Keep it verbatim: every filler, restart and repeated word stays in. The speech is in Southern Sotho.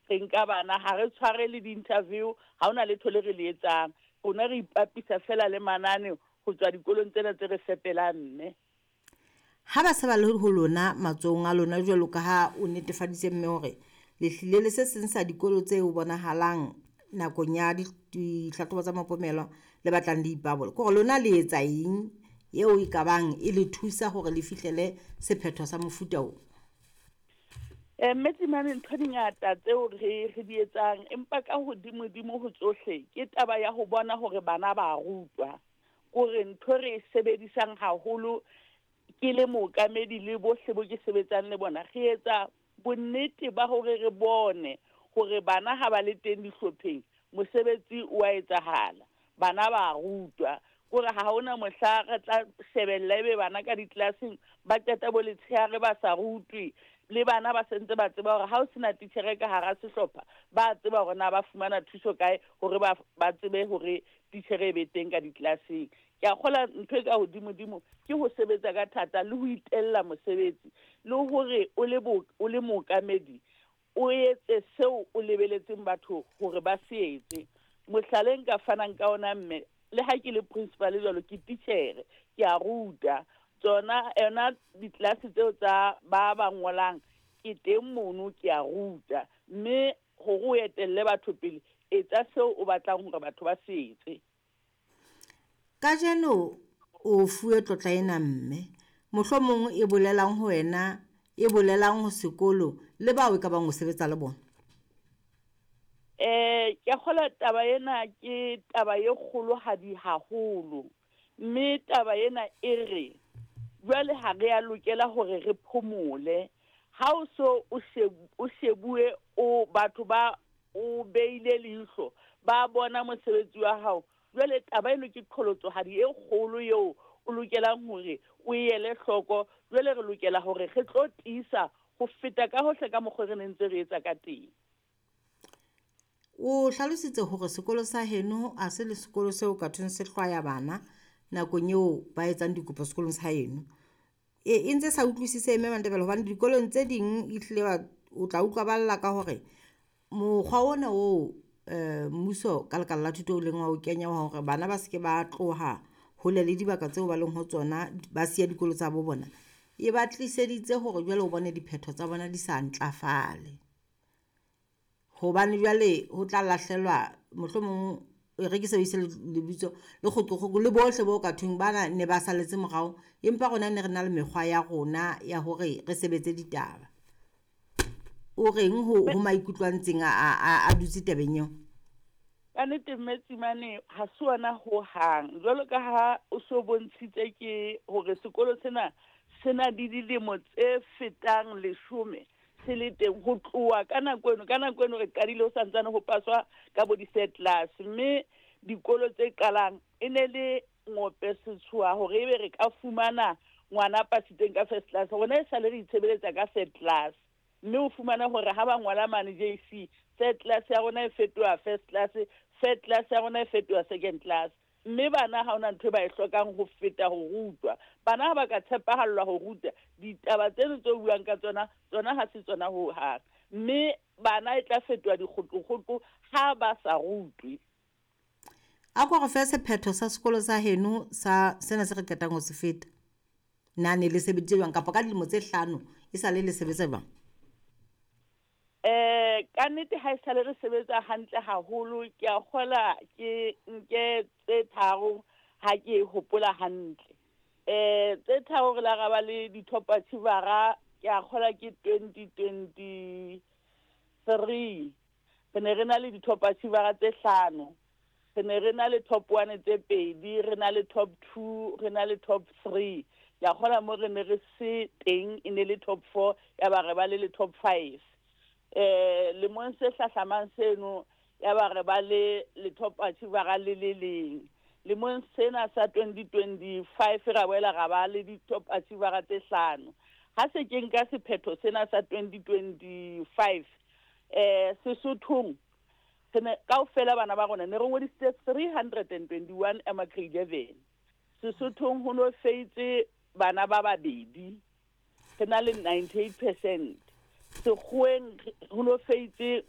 Re nka bana, ha re tshware le di-interview, ha hona letho le re le etsang. Rona re ipapisa fela le manane ho tswa dikolong tsena tse re fepelang mme. Ha ba se ba le ho lona matsohong a lona jwalo ka ha o netefaditse mme hore le hlile le se seng sa dikolo tse bonahalang nakong ya dihlahlobo tsa mapomelo le batlang le ipabola, ke hore lona le etsa eng eo e ka bang e le thusa hore le fihlele sephetho sa mofuta o? Eh, mme Tsimane, ntho di ngata tseo re re di etsang, empa ka hodimo-dimo ho tsohle ke taba ya ho bona hore bana ba rutwa. Kore ntho re e sebedisang haholo ke le mookamedi le bohle bo ke sebetsang le bona, re etsa bonnete ba hore re bone hore bana ha ba le teng dihlopheng mosebetsi o a etsahala, bana ba rutwa. Kore ha hona mohla re tla shebella ebe bana ka di-class-eng ba qeta bo letshehare ba sa rutwe, le bana ba sentse ba tseba hore ha o sena titjhere ka hara sehlopha, ba tseba hore na ba fumana thuso kae hore ba ba tsebe hore titjhere e be teng ka di-class-eng. Ke a kgolwa ntho e ka hodimo-dimo ke ho sebetsa ka thata le ho itella mosebetsi, le hore o le bo, o le mookamedi o etse seo o lebeletseng batho hore ba se etse. Mohlala e nka fanang ka ona mme, le ha ke le principal jwalo, ke titjhere, ke a ruta. Tsona yona di-class tseo tsa ba ba ngolang ke teng mono, ke a ruta. Mme hore o etelle batho pele, etsa seo o batlang hore batho ba se etse. Kajeno o fuwe tlotla ena mme, mohlomong e bolelang ho wena, e bolelang ho sekolo le bao e ka bang o sebetsa le bona? Eh, ke a kgolwa taba ena ke taba e kgolohadi haholo. Mme taba ena e re jwale ha re a lokela hore re phomole. Ha o so o o shebuwe, o batho ba o beile leihlo, ba bona mosebetsi wa hao. Jwale taba eno ke qholotsohadi e kgolo eo o lokelang hore o e ele hloko. Jwale re lokela hore re tlo tiisa ho feta ka hohle ka mokgwa re ne ntse re etsa ka teng. O hlalositse hore sekolo sa heno ha se le sekolo seo ka thweng se hlwaya bana nakong eo ba etsang dikopo sekolong sa heno. E, e ntse sa utlwisise mme Mantebele hobane dikolong tse ding ehlile ba o tla utlwa ba lla ka hore mokgwa ona oo eh, mmuso ka lekala la thuto o leng wa o kenya wa hore bana ba se ke ba tloha hole le dibaka tseo ba leng ho tsona, ba siya dikolo tsa bo bona, e ba tliseditse hore jwale o bone diphetho tsa bona di sa ntlafale. Hobane jwale ho tla lahlelwa mohlomong e re ke sebedise lebitso le kgoqokgoqo le bohle bo ka thweng bana ne ba saletse morao, empa rona ne re na le mekgwa ya rona ya hore re sebetse ditaba. O reng ho, ho maikutlo a ntseng a, a, a dutse tabeng eo? Ka nnete mme Tsimane, ha se ona hohang. Jwalo ka ha o so bontshitse ke hore sekolo sena se na le dilemo tse fetang leshome se le teng ho tloha ka nako eno. Ka nako eno re qadile ho santsane ho paswa ka bo di-third class, mme dikolo tse qalang e ne le ngope setshoha hore ebe re ka fumana ngwana pasitseng ka first class. Rona e sale re itshebeletsa ka third class, mme o fumana hore ha ba ngola mane J C, third class ya rona e fetoha first class, third class ya rona e fetoha second class. Mme bana ha hona ntho e ba e hlokang ho feta ho rutwa. Bana ha ba ka tshepahallwa ho ruta, ditaba tseno tse buang ka tsona, tsona ha se tsona ho hang. Mme bana e tla fetoha dikgoqokgoqo ha ba sa rutwe. A ko re fe sephetho sa sekolo sa heno sa sena se re qetang ho se feta. Na ne le sebeditse jwang kapa ka dilemo tse hlano e sale le sebetsa jwang? Eh, ka nnete ha e sale re sebetsa hantle haholo, ke a kgola ke nke tse tharo ha ke hopola hantle. Eh, tse tharo re la ra ba le di-top achiever-a, ke a kgola ke twenty twenty-three. Re ne re na le di-top achiever-a tse hlano. Re ne re na le top one tse pedi, re na le top two, re na le top three. Ke a kgola mo re ne re se teng e ne le top four, ya ba re ba le le top five. Eh, lemong se hlahlamang seno ya ba re ba le le top achiever-a le le leng. Lemong sena sa twenty twenty-five ra boela ra ba le di-top achiever-a tse hlano. Ha se ke nka sephetho sena sa twenty twenty-five, eh, Sesothong re ne kaofela bana ba rona ne re ngodisitse three hundred and twenty-one ema grade eleven. Sesothong ho no feitse bana ba babedi, re na le ninety-eight percent. Sekgoweng ho no feitse